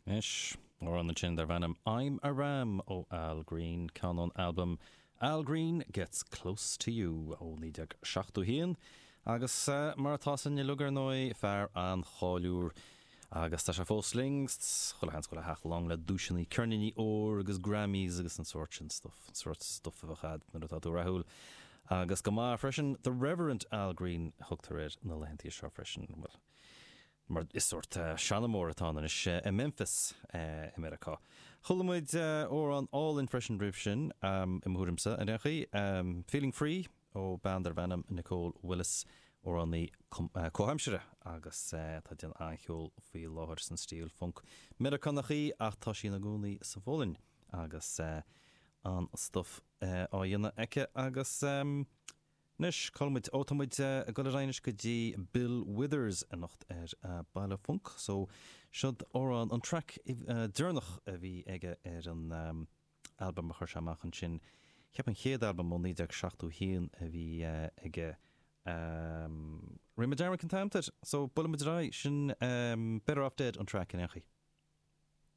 Anois, amhrán ansin darb ainm I'm a Ram ó Al Green, ceann ón albam Al Green Gets Close to You ó 1971 agus mar atá 'fhios againn uilig ar ndóigh, fear an-cháiliúil agus tá sé fós linn, chuile sheans go bhfuil a theach lán le duaiseanna, ceirníní óir agus Grammys agus an sórt sin stuff, an sórt stuff a bheadh a'd nuair atá tú rathúil agus go maith freisin. The Reverend Al Green a thugtar air na laethantaí seo freisin, bhuel. mar is sórt seanamóir atá ann anois i Memphis i Meiriceá. Chuala muid amhrán álainn freisin roimh sin, i mo thuairimse, ar aon chaoi, Feeling Free ó bean darb ainm Nicole Willis, amhránaí comhaimseartha agus atá ag déanamh an-cheol faoi láthair san stíl func Meiriceánach í ach tá sí ina cónaí sa Pholainn agus an-stuff á dhéanamh aici agus. Anois, cá bhfuil muid? Ó, tá muid ag dul ar aghaidh anois go dtí Bill Withers anocht ar Baile Func. So, seod amhrán, an track deireanach a bhí aige ar an albam a chuir sé amach ansin. Cheap an chéad albam ó 1971 a bhí aige. Rinne mé dearmad cén t-ainm air. So, buailfidh muid ar aghaidh. Sin Better Off Dead an track in aon chaoi.